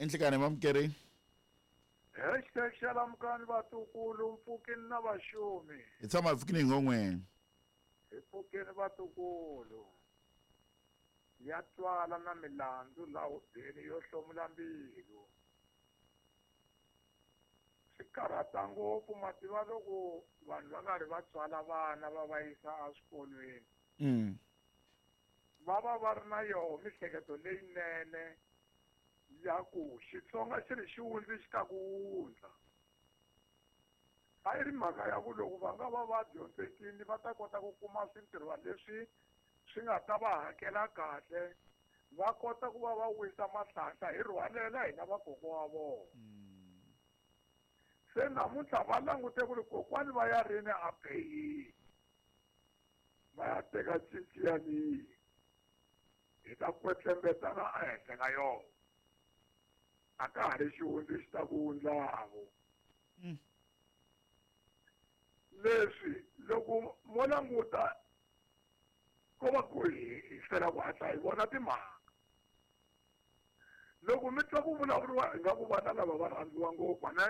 I nhlikani mamukeri. Hashtag xalamukani vatukulu mpfukini na vaxumi. Hi tshama hi pfukini hi ngon'weni. Hi pfukini vatukulu. Ya twala na milandzu laha hubyeni yo hlomula mbilu. Swi karhata ngopfu mativa loko vanhu va karhi va tswala vana va va yisa eswikolweni. Va va va ri na yoho mihleketo leyinene ya ku Xitsonga xi ri xi xi ta ku wundla. A yi ri mhaka ya ku loko va nga va va dyondzekile va ta kota ku kuma swintirhwa leswi swi nga ta va hakela kahle, va kota ku va va wisa mahlahla hi rhwalela hina vakokwa wa vona. Se namuntlha va langute ku ri kokwani va ya rini a peyini, va ya teka cinci yaliyi hi ta kwetlembetana ehenhla ka yona. A ka ha ri xihundla xi ta ku wundlavo. Leswi loko mo languta ko va ku hi hlwela ku hatla hi vona timhaka. Loko mi twa ku vulavuriwa ingaku vana lava va rhandziwa ngopfu ne,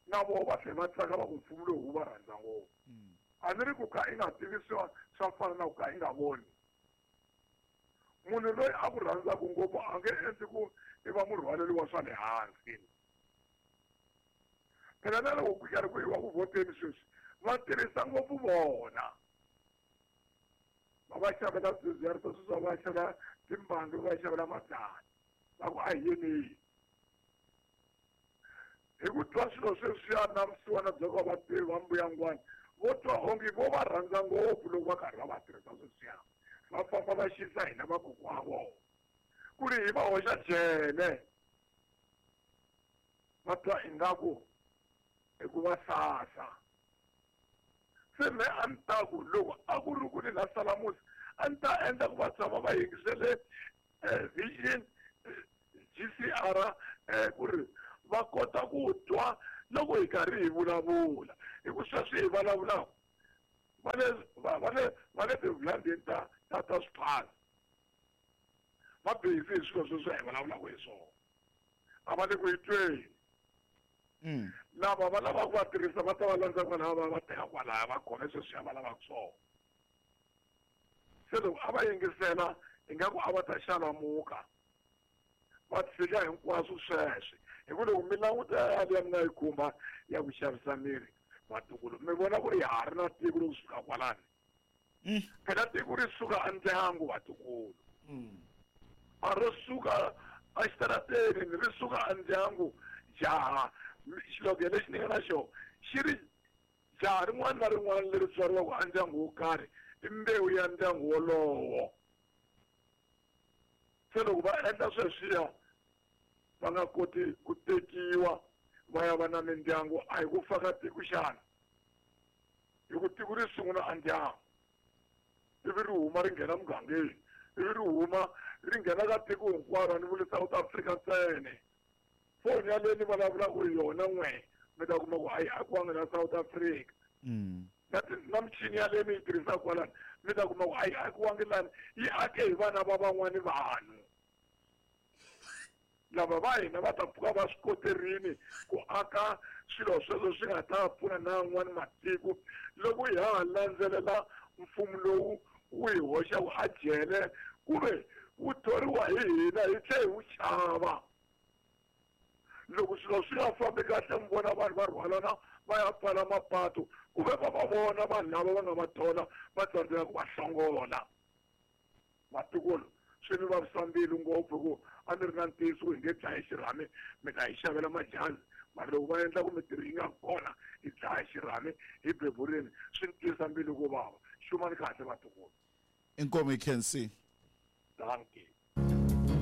na voho va tlhela va tsaka va ku mfumo lowu wu va rhandza ngopfu. A ni ri ku ka i nga tivi swa fana na ku ka i nga voni. Munhu loyi a ku rhandzaka ngopfu a nge endli ku i va murhwaleli wa swa le hansi. Phela na loko ku karhi ku yiwa ku vhoteni sweswi va tirhisa ngopfu vona. Va va xavela swidzidziharisi sweswi, va va xavela timbangi, va va xavela mabyalwa. Va ku a hi yeni. Hi ku twa swilo sweswiya na vusiwana bya ku va va tivi va mbuyangwana, vo twa onge vo va rhandza ngopfu loko va karhi va va tirhisa sweswiya. Va famba va xisa hina vakokwa wa vona. Ku ri hi va hoxa jele. Va twa ingaku i ku va sasa. Se me a ni ta ku loko a ku ri ku ni la Salamusi, a ni ta endla ku va tshama va yingisele Vision GCR ku ri va kota ku twa loko hi karhi hi vulavula. Hi ku sweswi hi vulavulaka va le tivhulandeni ta swiphaza. Va busy hi swilo sweswi hi vulavulaka hi swona. A va le ku hi tweni. Lava va lavaka ku va tirhisa va ta va landza kwalaya va va teka kwalaya va khome sweswiya va lavaka swona. Se loko a va yingisela ingaku a va ta xalamuka va tshika hinkwaswo sweswi. Hi ku loko mi languta yaliya mi nga yi khumba ya ku xavisa miri vatukulu, mi vona ku ri ha ri na tiko loko suka kwalani. Phela tiko ri suka endyangu vatukulu. A ro suka exitarateni, ri suka endyangu. Jaha xilogelo lexi ni nga na xona xi ri jaha rin'wana na rin'wana leri tswariwaka endyangu wo karhi i mbewu ya ndyangu wolowo. Se loko va endla sweswiya va nga koti ku tekiwa va ya va na mindyangu, a hi ku faka tiko xana? Hi ku tiko ri sungula endyangu, ivi ri huma ri nghena mugangeni, ivi ri huma ri nghena ka tiko hinkwaro, a ni vuli South Africa ntsena. Foni yaleyo ni vulavulaka hi yona n'we mi ta kuma ku a yi akiwanga na South Africa. Na michini yaleyo mi yi tirhisaka kwalano mi ta kuma ku a yi akiwangi lani, yi ake hi vana va van'wani vanhu. Lava va hina va ta pfuka va swi koterini ku aka swilo sweswo swi nga ta pfuna na yan'wani matiko loko hi ha landzelela mfumo lowu wu hi hoxaka a jele kumbe wu thoriwa hi hina hi tlhe hi wu xava. Loko swilo swi nga fambi kahle mi vona vanhu va rhwalana va ya pfala mapatu kumbe va va vona vanhu lava va nga va thola va tsandzeka ku va hlongola. Vatukulu swi ni vavisa mbilu ngopfu ku a ni ri na ntiyiso ku hi nge dlayi xirhami mi ta hi xavela majazi, mara loko va endla ku mintirho yi nga kona hi dlaya xirhami hi beburini swi ni twisa mbilu ku vava. Xumani kahle vatukulu. Inkomu hi Khensi. Dankie.